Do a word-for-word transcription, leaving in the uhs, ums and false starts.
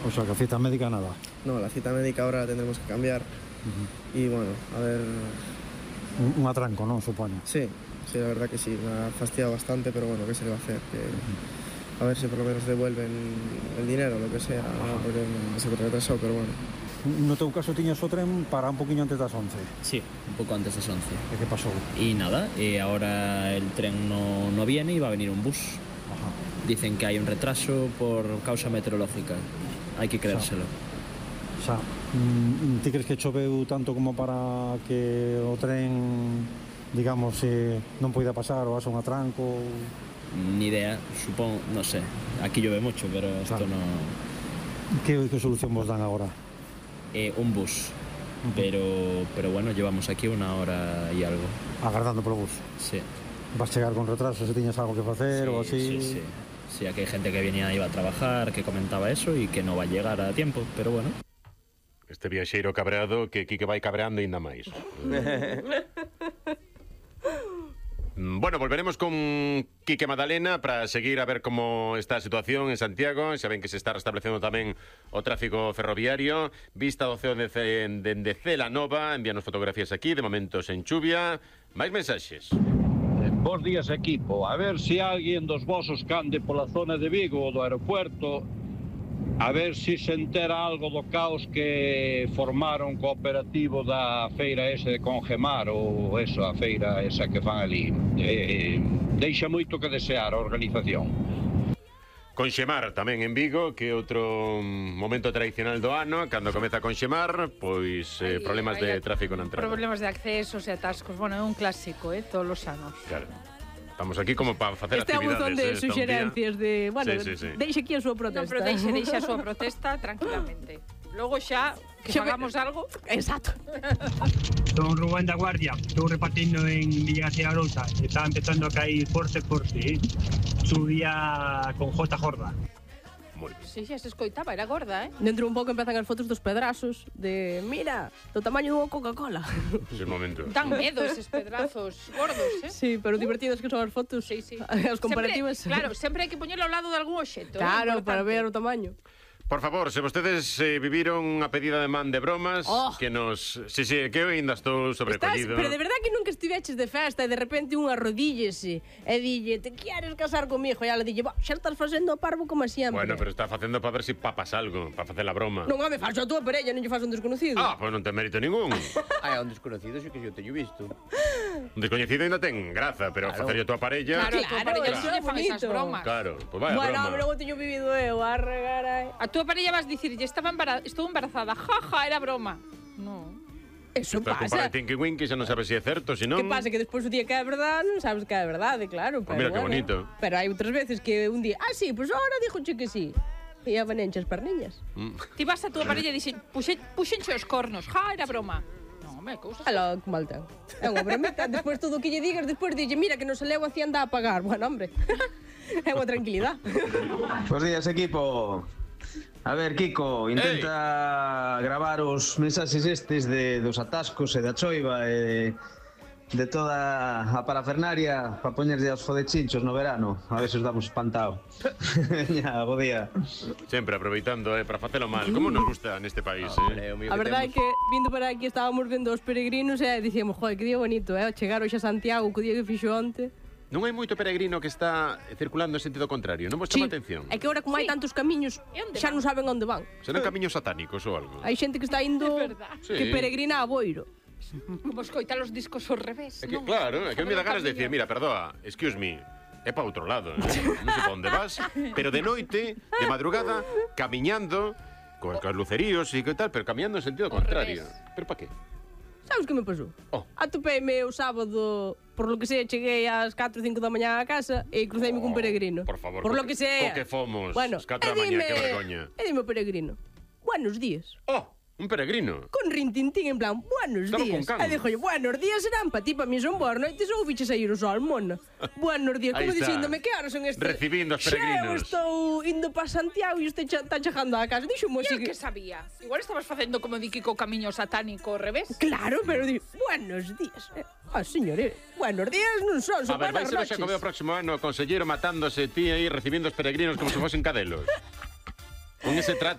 O sea, que cita médica nada. No, la cita médica ahora la tendremos que cambiar. Uh-huh. Y bueno, a ver... Un, un atranco, ¿no? Supone. Sí, sí, la verdad que sí. Me ha fastidiado bastante, pero bueno, ¿qué se le va a hacer? Que... Uh-huh. A ver si por lo menos devuelven el dinero, lo que sea, ¿no? Porque se ha retrasado, pero bueno. No teu caso tiñas o tren para un poquinho antes das once? Sí, un pouco antes das once. E que pasou? Y nada, y ahora el tren no, no viene y va a venir un bus. Ajá. Dicen que hay un retraso por causa meteorológica. Hay que creérselo. O sea, ti crees que choveu tanto como para que o tren, digamos, eh, non poida pasar ou haxa un atranco? Ni idea, supongo, no sé. Aquí llueve mucho, pero esto claro. no... ¿Qué, ¿Qué solución vos dan ahora? Eh, un bus. Uh-huh. Pero, pero bueno, llevamos aquí una hora y algo. Agardando polo bus? Sí. Vas chegar con retraso se tiñas algo que facer sí, ou así? Sí, sí. Sí, aquí hay gente que venía, iba a trabajar, que comentaba eso y que no va a llegar a tiempo, pero bueno. Este viaxeiro cabreado que Quique vai cabreando ainda máis. Bueno, volveremos con Quique Madalena para seguir a ver como está a situación en Santiago. Xa ven que se está restablecendo tamén o tráfico ferroviario. Vista do ceo dende Celanova. Envíanos fotografías aquí, de momentos en chuvia. Máis mensaxes. Bos días, equipo. A ver se alguén dos vosos cande pola zona de Vigo ou do aeropuerto, a ver se se entera algo do caos que formaron co operativo da feira ese de Congemar, ou eso, a feira esa que fan ali. Eh, deixa moito que desear a organización. Conxemar tamén en Vigo, que é outro momento tradicional do ano, cando comeza a conxemar, pois eh, Ay, problemas ay, de tráfico na entrada. Problemas de accesos e atascos, bueno, é un clásico, eh, todos os anos. Claro. Estamos aquí como para facer este actividades. Este é un montón de eh, suxerencias de, bueno, sí, sí, sí. deixe aquí a súa protesta. Non, pero deixe, deixe a súa protesta tranquilamente. Logo xa, que xa hagamos me... algo. Exacto. Son Rubén da Guardia, estou repartindo en Villa García Arousa. Está empezando a caer forte, forte, eh? Subía con J Jorda. Si, xa se escoitaba, era gorda, eh? Dentro un pouco empezan as fotos dos pedrazos de, mira, do tamaño dunha Coca-Cola. Ese momento. Dan medo eses pedrazos gordos, eh? Sí, pero divertidas que son as fotos. Sí, sí. As comparativas. Sempre, claro, sempre hai que poñelo ao lado de algún obxecto. Claro, para ver o tamaño. Por favor, se vostedes eh, viviron unha pedida de man de bromas, oh. que nos... Si, si, que eu ainda estou sobrecollido. Estás, pero de verdad que nunca estiveches de festa e de repente unha arrodíllese e dille, te queres casar comigo? E ela dille, xa estás facendo o parvo como sempre. Bueno, pero está facendo para ver se si papas algo, para facer a broma. Non, home, faz a túa parella, non lle faz un desconocido. Ah, pois pues non ten mérito ningún. Ai, un desconocido, xe que yo teño visto. Un desconocido ainda ten graza, pero claro. Facer a tua parella... Claro, a tua parella claro. Non lle fan esas bromas. Claro, pois pues vaya bueno, broma. Bueno, logo teño vivido eu, a regar aí. A tua parella vas dicir, estaba embara... estou embarazada, jaja, era broma. No. Eso Estás pasa. Estás con Tinky Winky, xa non sabes se é certo, se non... Que pasa? Que despois o día que é verdade non sabes que é verdade, claro. Pues mira bueno, que bonito. Pero hai outras veces que un día, ah, sí, pois pues ahora dixoche que sí. E a vanenche as perniñas. Mm. Ti vas a tua parella e dixen, puxe, puxenche os cornos, ja, era broma. Non, home, cousas... Aló, que mal ten. É unha bromita. Despois todo o que lle digas, despois dille, mira, que non se leu a Hacienda a pagar. Bueno, hombre, é unha tranquilidade. Bos días, equipo. A ver, Kiko, intenta Ey. gravar os mensaxes estes de, dos atascos e da choiva e de toda a parafernaria para poñerlle aos fodechinchos no verano. A ver se os damos espantado. Ya, bo día. Sempre aproveitando eh, para facelo mal. Como nos gusta neste país, eh? A verdade é que vindo para aquí estábamos vendo os peregrinos e dicíamos, joder, que día bonito, eh? Chegar hoxe a Santiago, co día que fixo onte. Non hai moito peregrino que está circulando en sentido contrario, non vos chama sí, atención? É que ahora como sí. hai tantos camiños, xa non saben onde van. Serán camiños satánicos ou algo? Hai xente que está indo sí. que peregrina a Boiro. Como escoitar os discos ao revés, é que, non? Claro, é que me dá ganas de decir, mira, perdoa, excuse me, é pa outro lado, eh? Non sei pa onde vas, pero de noite, de madrugada, camiñando, con os luceríos e que tal, pero camiñando en sentido contrario. Pero pa que? Sabes que me pasou? Oh. Atopeime o sábado, por lo que sei, cheguei ás catro ou cinco da mañá a casa e cruceime oh, cun peregrino. Por favor, por lo que sei. Co que fomos, bueno, as catro da mañá, que vergoña. E dime o peregrino, buenos días. Oh, un peregrino. Con rintintín en plan, buenos Estaba días. E dixo, buenos días serán pa ti, pa mí son boas noites ou fiches sair o sol, mona. Buenos días, como dixéndome que horas son estes. Recibindo os peregrinos. Xa estou indo pa Santiago e este está chegando a casa. Dixo mo así que... que sabía. Igual estabas facendo como di Kiko camiño satánico ao revés. Claro, pero di, buenos días. Ah, señores, buenos días non son, son buenas noches. A ver, vai ser o Xacobeo o próximo ano, o conselleiro matándose ti aí, recibindo os peregrinos como se fosen cadelos. Con ese trato